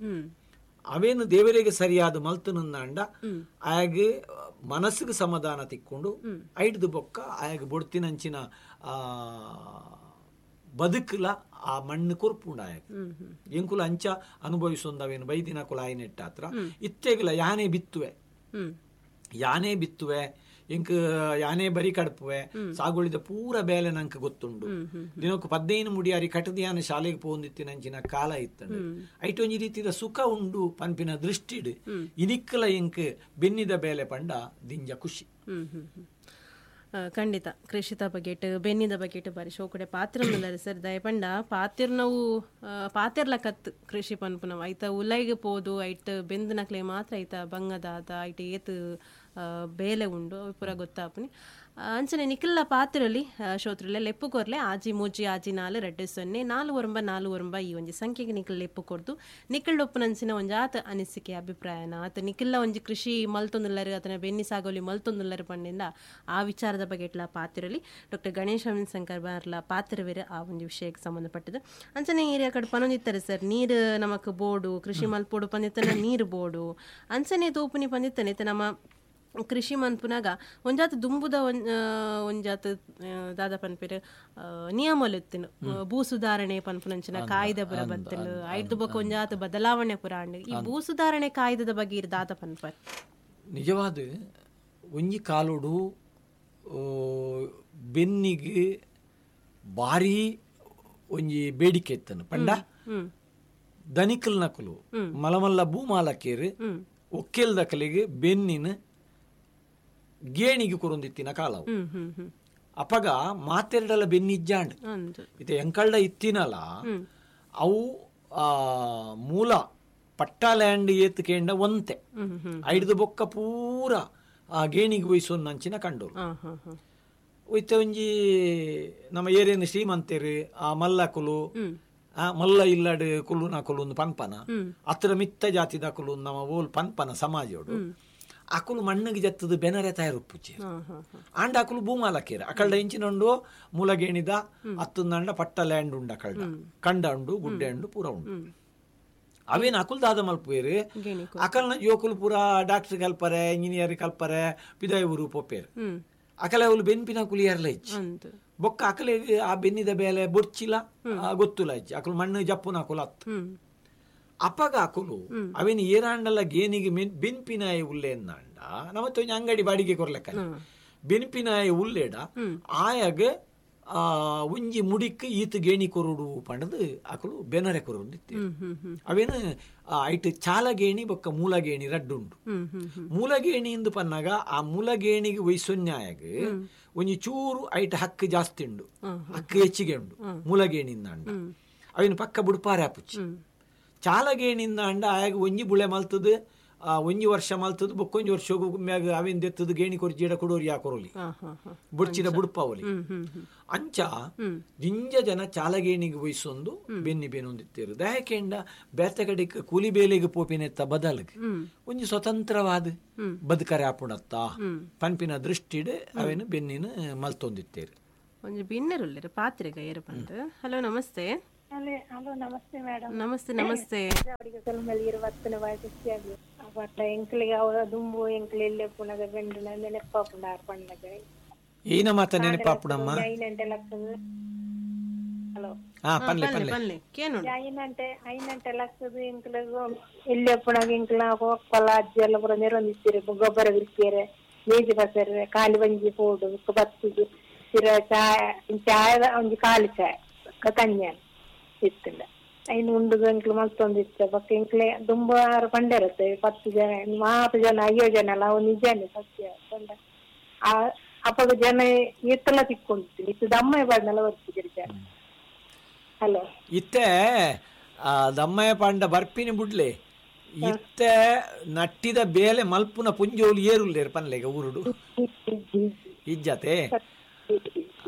ಅವೇನು ದೇವರಿಗೆ ಸರಿಯಾದ ಮಲ್ತನಂದಾಂಡ ಆಯಾಗ ಮನಸ್ಸಿಗೆ ಸಮಾಧಾನ ತಿಕ್ಕೊಂಡು ಐಡ್ದು ಬೊಕ್ಕ ಆಯಾಗ ಬೊಡ್ತಿನಂಚಿನ ಆ ಬದುಕಲ ಆ ಮಣ್ಣು ಕೊರ್ಪುಂಡ ಆಯಾಗ ಎಂಕುಲ ಅಂಚ ಅನುಭವಿಸೊಂದವೇನು ಬೈದಿನ ಕುಲ ಆಯ್ನೆಟ್ಟಾತ್ರ ಇತ್ತೆಗಲ ಯಾನೇ ಬಿತ್ತುವೆ ಯಾನೇ ಬಿತ್ತುವೆ ಎಂಕ್ ಯಾನೇ ಬರಿ ಕಡ್ಪುವೆ ಸಾಗುಳಿದ ಪೂರ ಬೇಲೆ ನಂಗೆ ಗೊತ್ತುಂಡು. ದಿನಕ್ಕೆ ಪದ್ದೈನು ಮುಡಿಯಾರಿ ಕಟದಿಯಾನ ಶಾಲೆಗೆ ಪೋಂದಿತ್ತಿನಂಚಿನ ಕಾಲ ಇತ್ತಂಡು ಐಟ್ ಒಂಜಿ ರೀತಿದ ಸುಖ ಉಂಡು ಪನ್ಪಿನ ದೃಷ್ಟಿಡ್ ಇನಿಕ್ಕಲ ಎಂಕ್ ಬೆನ್ನಿದ ಬೇಲೆ ಪಂಡ ದಿಂಜ ಖುಷಿ. ಖಂಡಿತ ಕೃಷಿತ ಬಗೆಟ್ ಬೆನ್ನಿದ ಬಗೆಟ್ ಬಾರಿ ಶೋಕಡೆ ಪಾತ್ರ ಸರ್ ದಯಪಂಡ ಪಾತಿರ್ನವು ಪಾತಿರ್ಲ ಕತ್ ಕೃಷಿ ಪನ್ಪುನವು ಐತ ಉಲೈಗೆ ಪೋದು ಐಟ್ ಬೆಂದನಕ್ಲೆ ಮಾತ್ರ ಐತ ಬಂಗದಾದ ಐಟ್ ಏತ್ ಬೇಲೆ ಉಂಡು ಅವು ಪೂರ ಗೊತ್ತಾಪುನಿ. ಅಂಚನೆ ನಿಖಿಲ್ಲ ಪಾತ್ರಲಿ ಶೋತ್ರಲೆ ಲೆಪ್ಪು ಕೊರ್ಲೆ ಆಜಿ ಮೂಜಿ ಆಜಿ ನಾಲು ರೆಡ್ಡು ಸೊನ್ನೆ ನಾಲು ಒರಂಬ ನಾಲು ಒರಂಬ ಈ ಒಂಜಿ ಸಂಖ್ಯೆಗೆ ನಿಖಿಲ್ ಲೆಪ್ಪು ಕೊರ್ದು ನಿಖಿಲ್ ಒಪ್ಪುನಂಚಿನ ಒಂಜಾತ ಅನಿಸಿಕೆ ಅಭಿಪ್ರಾಯನ ಆತ ನಿಖಿಲ್ಲ ಒಂಜಿ ಕೃಷಿ ಮಲ್ತೊಂದುಲ್ಲರು ಆತನ ಬೆನ್ನಿ ಸಾಗೋಲಿ ಮಲ್ತೊಂದುಲ್ಲರು ಪಂಡಿಂದ ಆ ವಿಚಾರದ ಬಗ್ಗೆ ಎಟ್ಲ ಪಾತಿರಲಿ ಡಾಕ್ಟರ್ ಗಣೇಶ್ ಅರವಿಂದ್ ಶಂಕರ್ ಬಾರ್ಲ ಪಾತ್ರವೇರು ಆ ಒಂದು ವಿಷಯಕ್ಕೆ ಸಂಬಂಧಪಟ್ಟದ್ದು. ಅಂಚನೆ ಏರಿಯಾ ಕಡೆ ಪನೊಂದಿತ್ತಾರೆ ಸರ್ ನೀರು ನಮಕ್ ಬೋಡು ಕೃಷಿ ಮಲ್ಪೋಡು ಪಂದಿತ್ತನ ನೀರು ಬೋಡು ಅಂಚನೆ ತೋಪುನಿ ಪಂದಿತ್ತನೆ ನಮ್ಮ ಕೃಷಿ ಮನ್ಪುನಾಗ ಒಂಜಾತ ದುಂಬುದ ಒಂಜಾತ ದಾದ ಪನ್ಪೇರು ನಿಯಮಲು ಭೂ ಸುಧಾರಣೆ ಪನ್ಪುನಂಚಿನ ಕಾಯ್ದೆ ಪುರ ಬತ್ತಲು ಐದು ಬೊಕ್ಕ ಒಂಜಾತ ಬದಲಾವಣೆ ಪುರ ಈ ಭೂ ಸುಧಾರಣೆ ಕಾಯ್ದೆದ ಬಗ್ಗೆ ಇರ್ ದಾದ ಪನ್ಪರ್. ನಿಜವಾದ ಒಂಜಿ ಕಾಲೋಡು ಬೆನ್ನಿಗೆ ಭಾರಿ ಒಂಜಿ ಬೇಡಿಕೆ ಇತ್ತನು ಪಂಡ ದನಿಕಲ್ ನಕಲು ಮಲಮಲ್ಲ ಭೂಮಾಲಕೇರು ಒಕ್ಕೆಲ್ ದಕಲಿಗೆ ಬೆನ್ನಿನ ಗೇಣಿಗೆ ಕೊರೊಂದಿತ್ತಿನ ಕಾಲವು. ಅಪಗ ಮಾತೆರಡಲ ಬೆನ್ನಿಜ್ಜಾಂಡ್ ಇತ್ತೆ ಎಂಕಲ್ಡ ಇತ್ತಿನಲ ಅವು ಆ ಮೂಲ ಪಟ್ಟಾ ಲ್ಯಾಂಡ್ ಏತ್ ಕೇಂಡ ಒಂತೆ ಐಡ್ದು ಬೊಕ್ಕ ಪೂರ ಆ ಗೇಣಿಗೆ ವಹಿಸೊಂದಂಚಿನ ಕಂಡೋರು. ಇತ್ತೆ ಒಂಜಿ ನಮ್ಮ ಏರಿಯನ್ ಶ್ರೀಮಂತರು ಆ ಮಲ್ಲಕುಲು ಆ ಮಲ್ಲ ಇಲ್ಲಡ್ ಕುಲ್ಲುನ ಕುಲು ಪನ್ಪನ ಅತ್ರ ಮಿತ್ತ ಜಾತಿದ ಕುಲು ನಮ್ಮ ಓಲ್ ಪನ್ಪನ ಸಮಾಜೋಡು ಅಕುಲು ಮಣ್ಣಿಗೆ ಜತ್ತದ ಬೆನರೆ ತಯಾರುಪ್ಪುಚಿ ಆಂಡ ಅಕುಲು ಭೂಮಾಲಕೇರ ಅಕಲ್ಡ ಇಂಚಿನುಂಡು ಮೂಲಗೇಣಿದ ಅತ್ತಂದಂಡ ಪಟ್ಟ ಲ್ಯಾಂಡ್ ಉಂಡು ಅಕಲ್ಡ ಕಂಡ ಉಂಡು ಗುಡ್ಡೆ ಉಂಡು ಪೂರ ಉಂಡು ಅವೇನು ಅಕುಲ್ ದಾದ ಮಲ್ಪುವೇರು ಅಕಲ್ನ ಜೋಕುಲು ಪೂರ ಡಾಕ್ಟರ್ ಕಲ್ಪರೆ ಇಂಜಿನಿಯರ್ ಕಲ್ಪರೆ ಪಿದಾಯ ಊರು ಪೊಪ್ಪೇರು ಅಕಲೆ ಅವಳು ಬೆನ್ಪಿನ ಕುಲಿಯರ್ಲ ಇಚ್ಚಿ ಬೊಕ್ಕ ಅಕಲೆ ಆ ಬೆನ್ನಿದ ಬೇಲೆ ಬೊರ್ಚಿಲ ಗೊತ್ತುಲ ಇಚ್ಚಿ ಅಕಲು ಮಣ್ಣು ಜಪ್ಪುನ ಅಕುಲು ಅತ್ತು ಅಪಗ ಅಕುಲು ಅವೇನು ಏರಾಂಡಲ್ಲ ಗೇನಿಗೆ ಬೆನ್ಪಿನಾಯ ಉಲ್ಲೆ ಅಂದಾಂಡ ನಮ್ಮತ್ತೆ ಒಂಜಿ ಅಂಗಡಿ ಬಾಡಿಗೆ ಕೊರ್ಲೆಕ್ಕ ಬೆನ್ಪಿನಾಯ ಉಲ್ಲೇಡ ಆಯಾಗ ಆ ಒಂಜಿ ಮುಡಿಕ್ ಈತ ಗೇಣಿ ಕೊರಡು ಪಂಡದು ಅಕಲು ಬೆನರೆ ಕೊರಡು ಅವೇನು ಐಟ್ ಚಾಲಗೇಣಿ ಬೊಕ್ಕ ಮೂಲಗೇಣಿ ರಡ್ಡುಂಡು. ಮೂಲಗೇಣಿ ಇಂದು ಪನ್ನಾಗ ಆ ಮೂಲಗೇಣಿಗೆ ವೈಸೊನ್ಯಾಯಗ ಒಂಜಿ ಚೂರು ಐಟ್ ಹಕ್ಕು ಜಾಸ್ತಿ ಉಂಡು ಹಕ್ಕು ಹೆಚ್ಚಿಗೆ ಉಂಡು ಮೂಲಗೇಣಿಂದ ಅಂಡ ಅವೇನು ಪಕ್ಕ ಬುಡ್ಪಾರೆ ಆಪುಚ್ಚಿ ಚಾಲಗೇಣಿಂದ ಅಂಡ ಆಯಾಗ ಒಂಜಿ ಬುಳೆ ಮಲ್ತದ ಒಂಜಿ ವರ್ಷ ಮಲ್ತದ ಬೊಕ್ಕೊಂಜಿ ವರ್ಷ ಮ್ಯಾಗ ಅವಿನ ದೆತ್ತದ ಗೇಣಿ ಕೊರ್ಜಿಡ ಕೊಡೋರಿ ಯಾಕೊರೋಲಿ ಬುಡ್ಚಿಡ ಬುಡ್ಪಾವಲಿ. ಅಂಚ ದಿಂಜ ಜನ ಚಾಲಗೇಣಿಗೆ ವಯಸ್ಸೊಂದು ಬೆನ್ನಿ ಬೇನೊಂದಿತ್ತೇರು. ದಯಕೆಂಡ ಬೇತೆ ಕಡೆಗೆ ಕೂಲಿ ಬೇಲೆಗೆ ಪೋಪಿನೆತ್ತ ಬದಲಿಗೆ ಒಂಜಿ ಸ್ವತಂತ್ರವಾದ ಬದುಕರೆ ಆಪುಣತ್ತ ಪನ್ಪಿನ ದೃಷ್ಟಿಡ್ ಅವೇನು ಬೆನ್ನಿನ ಮಲ್ತೊಂದಿತ್ತೇರು. ಒಂಜಿ ಬಿನ್ನೆರುಲ್ಲೆರ್ ಪಾತ್ರೆಗ ಏರು ಪಂದ್. Hello namaste. Hello namaste madam. Namaste namaste. ದುಂಬು ಎಂಕ್ಲೆ ಎಲ್ಲೆ ಪುನಗ ಬೆಂಡುನ ನೆನಪಾಪುಂಡ ಆರ್ ಪಣ್ಣಗ ಏನ ಮಾತ ನೆನಪಾಪುಡಮ್ಮ. ಐನಂಟೆ ಲಕ್ಷದ ಹಲೋ ಹಾ ಪನ್ಲೆ ಪನ್ಲೆ ಐನಂಟೆ ಐನಂಟೆ ಲಕ್ಷದ ಎಂಕ್ಲೆ ಎಲ್ಲೆ ಪುನಗ ಎಂಕ್ಲ ಒಪ್ಪಲ ಅಜ್ಜಿ ಎಲ್ಲ ಪೂರ ನೆರೊಂದಿತ್ತೀರಿ. ಗೊಬ್ಬರ ಬಿರ್ಕಿಯರೆ ಮೇಜಿ ಬಸರೆ ಕಾಲಿ ಬಂಜಿ ಪೋಡು ಬತ್ತಿದು ಸಿರ ಚಾಯ ಚಾಯ ಒಂಜಿ ಖಾಲಿ ಚಾಯ್ ಕನ್ಯಾನ ಇತ್ತಿಲ್ಲ. ಐನು ಉಂಡು ಎಂಕ್ಲು ಮಲ್ತೊಂದಿತ್ತ ಬೊಕ್ಕ ಎಂಕ್ಲೆ ದುಂಬು ಆರು ಪಂಡೆರತ್ತೆ ಪತ್ತು ಜನ ಮಾತು ಜನ ಅಯ್ಯೋ ಜನ ಅಲ್ಲ ಅವು ನಿಜಾನೆ ಸತ್ಯ ಪಂಡ. ಆ ಅಪ್ಪಗ ಜನ ಎತ್ತಲ ತಿಕ್ಕೊಂಡಿತ್ತು ಇತ್ತು ದಮ್ಮಯ್ಯ ಪಾಂಡಲ ಬರ್ತಿದ್ರು ಜನ. ಹಲೋ ಇತ್ತೆ ದಮ್ಮಯ್ಯ ಪಾಂಡ ಬರ್ಪಿನಿ ಬುಡ್ಲೆ ಇತ್ತೆ ನಟ್ಟಿದ ಬೇಲೆ ಮಲ್ಪುನ ಪುಂಜೋಲು ಏರುಲ್ಲೇರು ಪನ್ಲೆಗ ಊರುಡು ಇಜ್ಜತೆ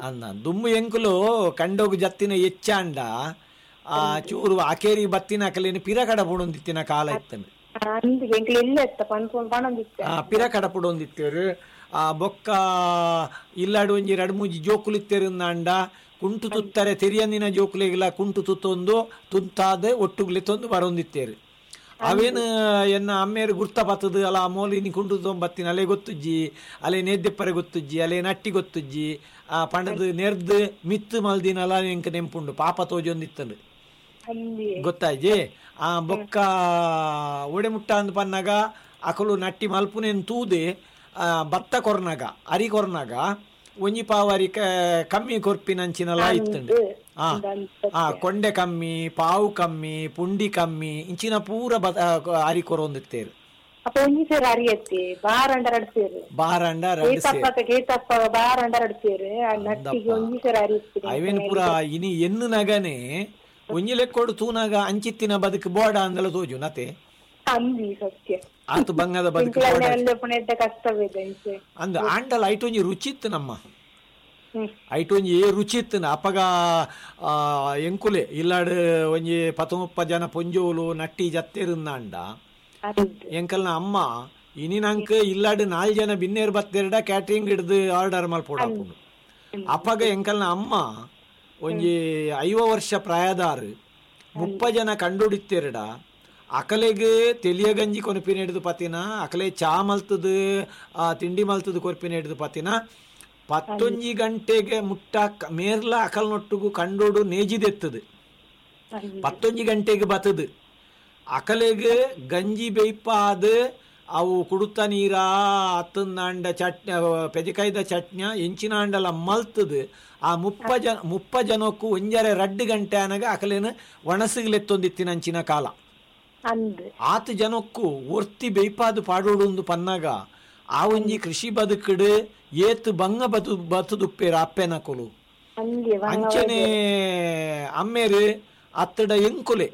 ಅನ್ನ ದುಮ್ಮು ಎಂಕುಲು ಕಂಡೋಗು ಜತ್ತಿನ ಎಚ್ಚಾಂಡ ಆ ಚೂರು ಅಕೇರಿ ಬತ್ತಿನ ಕಲೇನು ಪಿರ ಕಡ ಪುಡೊಂದಿತ್ತಿನ ಕಾಲ ಇತ್ತಂದು. ಆ ಪಿರ ಕಡ ಪುಡೊಂದಿತ್ತೇರು. ಆ ಬೊಕ್ಕ ಇಲ್ಲಾಡು ಒಂಜಿ ರಡ್ ಮೂಜಿ ಜೋಕುಲಿತ್ತೇರು ಅಂಡ ಕುಂಟು ತುತ್ತಾರೆ ತೆರಿಯಂದಿನ ಜೋಕುಲಿಗೆಲ್ಲ ಕುಂಟು ತುತ್ತೊಂದು ತುತ್ತಾದ ಒಟ್ಟುಗುಲಿ ತೊಂದು ಬರೊಂದಿತ್ತೇರು. ಅವೇನು ಎನ್ನ ಅಮ್ಮೇರು ಗುರ್ತ ಬತ್ತದು ಅಲ್ಲ ಮೋಲಿ ನೀ ಕುಂಟು ತೊಂಬತ್ತಿನ ಅಲೆ ಗೊತ್ತುಜ್ಜಿ ಅಲೆ ನೇದ್ದೆಪ್ಪರೆ ಗೊತ್ತುಜ್ಜಿ ಅಲೆ ನಟ್ಟಿ ಗೊತ್ತುಜ್ಜಿ ಆ ಪಂಡದು ನೆರ್ದು ಮಿತ್ತು ಮಲ್ದಿನಲ್ಲ ಎಂಕ ನೆಂಪುಂಡು ಪಾಪ ತೋಜೊಂದಿತ್ತಂದು ಗೊತ್ತಾಯ್ಜಿ. ಆ ಬೊಕ್ಕ ಒಡೆ ಮುಟ್ಟ ಅಂದ್ ಪನ್ನಾಗ ಅಕಲು ನಟ್ಟಿ ಮಲ್ಪುನೇನು ತೂದೆ ಭತ್ತ ಕೊರ್ನಾಗ ಅರಿ ಕೊರ್ನಾಗ ಒಂಜಿ ಪಾವು ಅರಿ ಕಮ್ಮಿ ಕೊರ್ಪಿನಂಚಿನಲ್ಲ ಇತ್ತಂಡು. ಆ ಆ ಕೊಂಡೆ ಕಮ್ಮಿ ಪಾವು ಕಮ್ಮಿ ಪುಂಡಿ ಕಮ್ಮಿ ಇಂಚಿನ ಪೂರ ಬ ಅರಿ ಕೊರೊಂದಿತ್ತೇರು. ಬಾರಂಡ ಅವೇನು ಪೂರ ಇನಿ ಎನ್ನು ನಗನೆ ಒಂಜಿ ಲೆಕ್ಕೋಡು ತೂನಾಗ ಅಂಚಿತ್ತಿನ ಬದುಕು ಬೋಡ ಅಂದಲ ತೋಜು ನತೆ ಆತು ಬಂಗದ ಬದುಕು ಅಂದ ಆಂಡಲ ಐಟೊಂಜಿ ರುಚಿ ಇತ್ತು ನಮ್ಮ ಐಟೊಂಜಿ ರುಚಿ ಇತ್ತು. ಅಪಗ ಎಂಕುಲೆ ಇಲ್ಲಾಡು ಒಂಜಿ ಪತ್ತೊಂಬ ಜನ ಪೊಂಜೋಲು ನಟ್ಟಿ ಜತ್ತೇರುಂದಾಂಡ ಎಂಕಲ್ನ ಅಮ್ಮ ಇನಿ ನಂಕ್ ಇಲ್ಲಾಡು ನಾಲ್ ಜನ ಬಿನ್ನೇರು ಬತ್ತೇರ್ಡ ಕ್ಯಾಟ್ರಿಂಗ್ ಹಿಡ್ದು ಆರ್ಡರ್ ಮಲ್ಪೋಡಾಪುಂಡು. ಅಪಗ ಎಂಕಲ್ನ ಅಮ್ಮ ಒಂಜಿ ಐವ ವರ್ಷ ಪ್ರಾಯದಾರು ಮುಪ್ಪ ಜನ ಕಂಡುಡಿತ್ತೇರ್ಡ ಅಕಲೆಗೆ ತೆಲಿಯ ಗಂಜಿ ಕೊನಪಿನ ಹಿಡಿದು ಪತಿನ ಅಕಲೆ ಚಾ ಮಲ್ತದು ತಿಂಡಿ ಮಲ್ತದು ಕೊರ್ಪಿನ ಹಿಡಿದು ಪತಿನ ಪತ್ತೊಂಜಿ ಗಂಟೆಗೆ ಮುಟ್ಟ ಮೇರ್ಲ ಅಕಲ್ನೊಟ್ಟಿಗೂ ಕಂಡೋಡು ನೇಜಿದೆತ್ತದು ಪತ್ತೊಂಜಿ ಗಂಟೆಗೆ ಬತ್ತದು ಅಕಲೆಗೆ ಗಂಜಿ ಬೇಯ್ಪಾದ ಅವು ಕುಡುತ್ತ ನೀರ ಅತ್ತಂದಾಂಡ ಚಟ್ನಿ ಪೆಜಕಾಯ್ದ ಚಟ್ನಿಯ ಎಂಚಿನಾಂಡಲ ಮಲ್ತದು ಆ ಮುಪ್ಪ ಜನ ಮುಪ್ಪ ಜನಕ್ಕೂ ಒಂಜರೆ ರಡ್ಡು ಗಂಟೆ ಅನಗ ಅಕಲೇನು ಒಣಸಿಗ್ಲೆತ್ತೊಂದಿತ್ತಿನಂಚಿನ ಕಾಲ. ಆತ ಜನಕ್ಕೂ ಒರ್ತಿ ಬೇಯ್ಪಾದು ಪಾಡೋಡು ಪನ್ನಾಗ ಆ ಒಂಜಿ ಕೃಷಿ ಬದುಕಡು ಏತು ಬಂಗ ಬತು ಬತುದುಪ್ಪೇರು ಅಪ್ಪೆನಕೊಲು ಅಂಚನೆ ಅಮ್ಮೇರು ಅತ್ತಡ ಎಂಕುಲೆ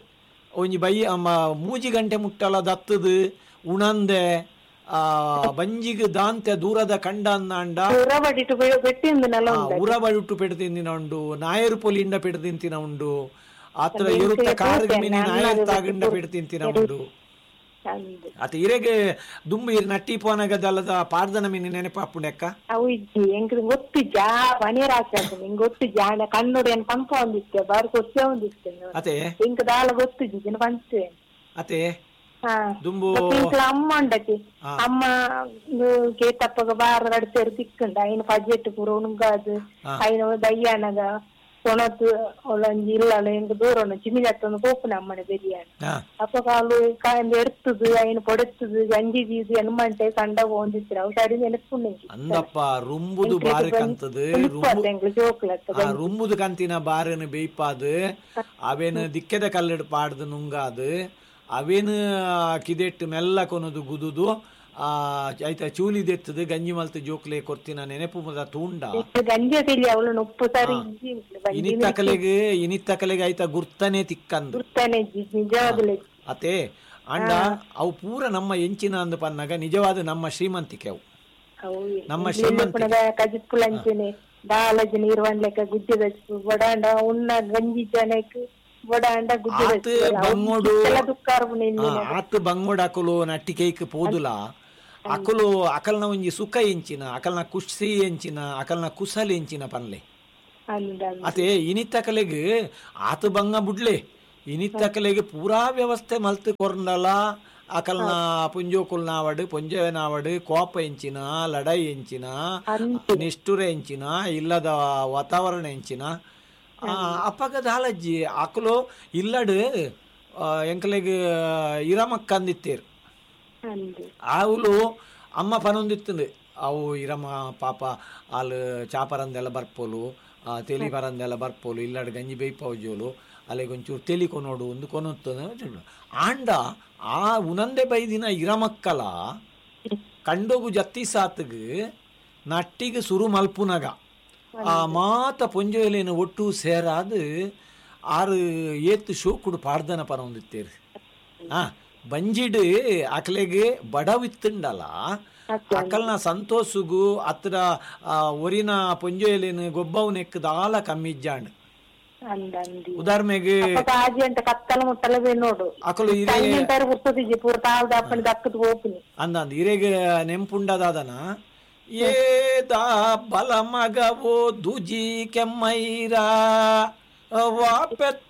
ಒಂಜಿ ಬೈ ಅಮ್ಮ ಮೂಜಿ ಗಂಟೆ ಮುಟ್ಟಲ ದತ್ತದು ಉಣಂದೆ ಆ ಬಂಜಿಗೆ ದಾಂತೆ ದೂರದ ಕಂಡ ಅಂದಾಂಡ ಉರಬಡಿಟ್ಟು ಪೆಟ್ಟು ತಿಂದಿನ ಉಂಡು ನಾಯರು ಪೊಲಿಂಡ ಪೆಟ್ಟು ತಿಂತಿನ ಉಂಡು ಆತರ ಇರುತ್ತ ಕಾರಿಗೆ ಮೀನಿ ನಾಯರ್ ತಾಗಂಡ ಪೆಟ್ಟು ತಿಂತಿನ ಉಂಡು. ಆತ ಇರೆಗೆ ದುಂಬು ಇರ್ ನಟ್ಟಿ ಪೋನಗದಲ್ಲದ ಪಾರ್ದನ ಮೀನಿ ನೆನಪಾಪುಂಡೆಕ್ಕ ಅವು ಇಜ್ಜಿ ಎಂಕ್ ಗೊತ್ತಿಜ್ಜಾ ಮನೇರ್ ಗೊತ್ತಿಜ್ಜಾ ಕಣ್ಣುಡು ಏನ್ ಪಂಪ ಒಂದಿತ್ತೆ ಬಾರಿ ಕೊಚ್ಚೆ ಒಂದಿತ್ತೆ ಅತೆ ಎಂಕ್ ದಾಲ ಗೊತ್ತಿಜ್ಜಿ ಪಂಚೆ ಅತೆ ದುಂಬು ಅಮ್ಮ ಉಂಡತಿ ಅಮ್ಮ ಕೇತಪ್ಪಗ ಬಾರ ನಡ್ತೇರು ತಿಕ್ಕಂಡ ಐನ ಪಜೆಟ್ ಪೂರ ಉಣುಗಾದು ಐನ ದಯ್ಯಾನಗ ಕೊಣತು ಒಳಂಜಿ ಇಲ್ಲಲ್ಲ ಎಂಕ್ ದೂರ ಚಿಮಿಜತ್ತೊಂದು ಪೋಪುನ ಅಮ್ಮನ ಬೆರಿಯಾನ ಅಪ್ಪ ಕಾಲು ಕಾಯಿಂದ ಎಡ್ತದು ಐನ ಪೊಡೆತ್ತದು ಗಂಜಿ ಬೀದು ಎನ್ಮಂಟೆ ಕಂಡ ಹೋಂದಿತ್ತು ಅವು ಸರಿ ನೆನಪುಂಡು. ಅಂದಪ್ಪ ರುಂಬುದು ಬಾರು ಕಂತದು ರುಂಬುದು ಕಂತಿನ ಬಾರನ್ನು ಬೇಯ್ಪಾದು ಅವೇನು ದಿಕ್ಕೆದ ಕಲ್ಲಡ್ ಪಾಡ್ದು ನುಂಗಾದು ಅವೇನು ಕಿದೆಟ್ಟು ಮೆಲ್ಲ ಕೊನದು ಗುದುದು ಆ ಆಯ್ತಾ ಚೂಲಿದೆತ್ತದು ಗಂಜಿ ಮಲ್ತು ಜೋಕ್ಲೆ ಕೊರ್ತಿನ ನೆನಪು ಮುದ ತೂಂಡ ಇನಿತ್ತ ಕಲೆಗೆ ಇನಿತ್ತ ಕಲೆಗೆ ಆಯ್ತಾ ಗುರ್ತನೆ ತಿಕ್ಕಂದು ಅತೆ ಅಂಡ ಅವು ಪೂರ ನಮ್ಮ ಎಂಚಿನ ಅಂದ್ ಪನ್ನಗ ನಿಜವಾದ ನಮ್ಮ ಶ್ರೀಮಂತಿಕೆ ಅವು. ಅವು ನಮ್ಮ ಶ್ರೀಮಂತಿಕೆ. ಕಜಿಪ್ಪುಲ ಅಂಚನೆ ದಾಲಜಿ ನೀರು ವಂಡ್ಲೆಕ್ಕ ಗುಜ್ಜೆ ದಚ್ಪು ಬಡಾಂಡ ಉನ್ನ ಗಂಜಿ ಜನಕ್ ಬಡಾಂಡ ಗುಜ್ಜೆ ಆತ್ ಬಂಗೋಡು ದುಕ್ಕಾರ್ಬುನಿ. ಆತ್ ಬಂಗೋಡು ಅಕುಲು ನಟ್ಟಿಕೈಕ್ ಪೋದುಲ ಅಕುಲು ಅಕಲ್ನ ಒಂಜಿ ಸುಖ ಎಂಚಿನ, ಅಕಲ್ನ ಖುಷಿ ಎಂಚಿನ, ಅಕಲ್ನ ಕುಸಲ್ ಎಂಚಿನ ಪನ್ಲೆ. ಅತೆ ಇನಿತಕಲೆಗ್ ಆತ ಬಂಗ ಬುಡ್ಲೆ, ಇನಿತಕಲೆಗ್ ಪೂರಾ ವ್ಯವಸ್ಥೆ ಮಲ್ತ್ ಕೊರ್ಂಡಲ ಅಕಲ್ನ ಪುಂಜೋಕುಲ್ನಾವಡ್ ಪುಂಜನಾವಡ್ ಕೋಪ ಎಂಚಿನ, ಲಡಾಯಿ ಎಂಚಿನ, ನಿಷ್ಠುರ ಎಂಚಿನ, ಇಲ್ಲದ ವಾತಾವರಣ ಎಂಚಿನ ಅಪ್ಪಗ ದಾಲಜ್ಜಿ ಅಕುಲು ಇಲ್ಲಡ್ ಎಂಕಲೆಗ್ ಇರಮಕ್ಕಂದಿತ್ತೇರು. ಆವುಲು ಅಮ್ಮ ಪನೊಂದಿತ್ತಂದು ಅವು ಇರಮ ಪಾಪ ಅಲ್ ಚಾಪರಂದೆಲ್ಲ ಬರ್ಪೋಲು, ತೆಲಿ ಪರಂದೆಲ್ಲ ಬರ್ಪೋಲು, ಇಲ್ಲಡ್ ಗಂಜಿ ಬೇಯ್ಪೌಜೋಲು, ಅಲ್ಲಿಗೆ ಒಂಚೂರು ತೆಲಿ ಕೊನೋಡು ಒಂದು ಕೊನೊತ್ತದ. ಆಂಡ ಆ ಉನಂದೆ ಬೈದಿನ ಇರಮಕ್ಕಲ ಕಂಡೋಗು ಜತ್ತಿ ಸಾತ್ಗ್ ನಟ್ಟಿಗೆ ಸುರು ಮಲ್ಪುನಗ ಆ ಮಾತ ಪೊಂಜೋಲೇನು ಒಟ್ಟು ಸೇರಾದು ಆರು ಏತ್ ಶೋಕುಡು ಪಾಡ್ದನ ಪನೊಂದಿತ್ತೇರು. ಆ ಬಂಜಿಡು ಅಕಲೆಗೆ ಬಡವಿತ್ತುಂಡಲ ಅಕಲ್ನ ಸಂತೋಷಗು ಅತ್ರ ಒರಿನ ಪೊಂಜೋಲೇನು ಗೊಬ್ಬವನೆಕ್ ದಾಲ ಕಮ್ಮಿಜ್ಜಾಂಡ್. ಉದಾಹರಣೆಗೆ ಅಕಲು ಅಂದ ಇರೆಗೆ ನೆಂಪುಂಡದಾದನ ಏದ ಬಲ ಮಗವೋ ದುಜಿ ಕೆಮ್ಮೈರ ವಾಪೆತ್ತ